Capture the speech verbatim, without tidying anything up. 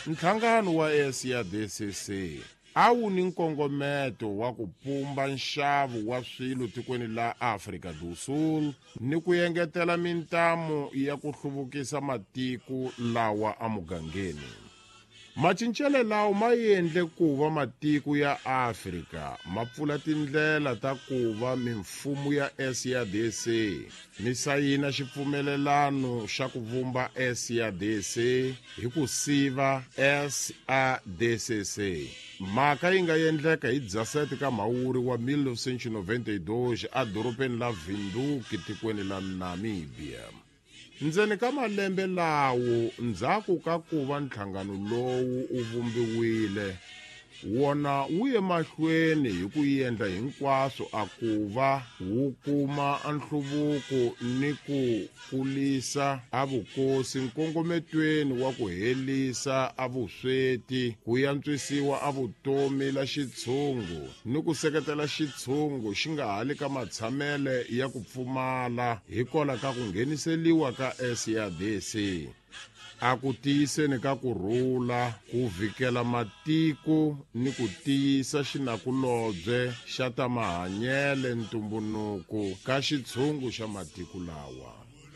Nhlangano wa S A D C C a wu ni nkongometo wa ku pumba nxavo wa swilo tikweni la Afrika do Sul ni ku engetela mintamu ya ku hluvukisa matiko lawa amugangeni. Macincelo lawa ma endle ku va matiko ya Afrika ma pfula tindlela ta ku va mimfumo ya S A D C mi sayina xipfumelelano xa ku vumba S A D C hi ku siva S A D C C. Mhaka yi nga endleka hi dzasete ka Mhawuri wa mil novecentos e noventa e dois adorobeni la Windhoek, tikweni la Namibia. Ndzeni ka malembe lawo ndzhaku ka ku va nhlangano lowu wu vumbiwile, wona wu ye mahlweni hi ku endla hinkwaswo a ku va wu kuma nhluvuko ni ku kulisa a vukosi nkongometweni wa ku helisa a vusweti, ku yantswisiwa a vutomi la xitshungu ni ku seketela xitshungu xi nga hali ka matshamele ya ku pfumala hikola ka ku ngheniseliwa ka S A D C a ku tiyiseni ka ku rhula, ku vhikela matiko ni ku tiyisa xinakulobye xa ta mahanyele ntumbunuku ka xitshungu xa matiko lawa.